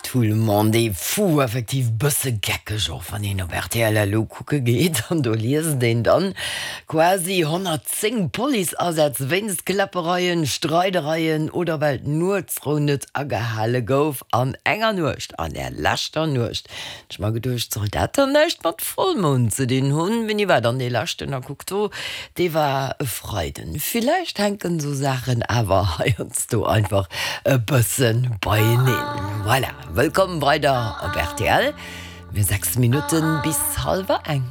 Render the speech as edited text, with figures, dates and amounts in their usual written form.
Tout le monde est fou, effektiv bësse geckeg och wann een op rtl elo kucke geet an do liest een dann quasi 110 Policeasätz wéinst Kläppereien, Streidereien oder well d'Nuetsrou net agehale gouf an enger Nuecht, an der leschter Nuecht. Ech mer geduecht, soll dat dann näischt mat Vollmound ze dinn hunn? Wéini war dann dee leschten? A kuck do, dee war e Freiden. Villäicht hänken esou Saachen awer heiansdo einfach e bësse beieneen. Voilà, wëllkomm weider op rtl. Mir 6 Minutten bis hallwer eng.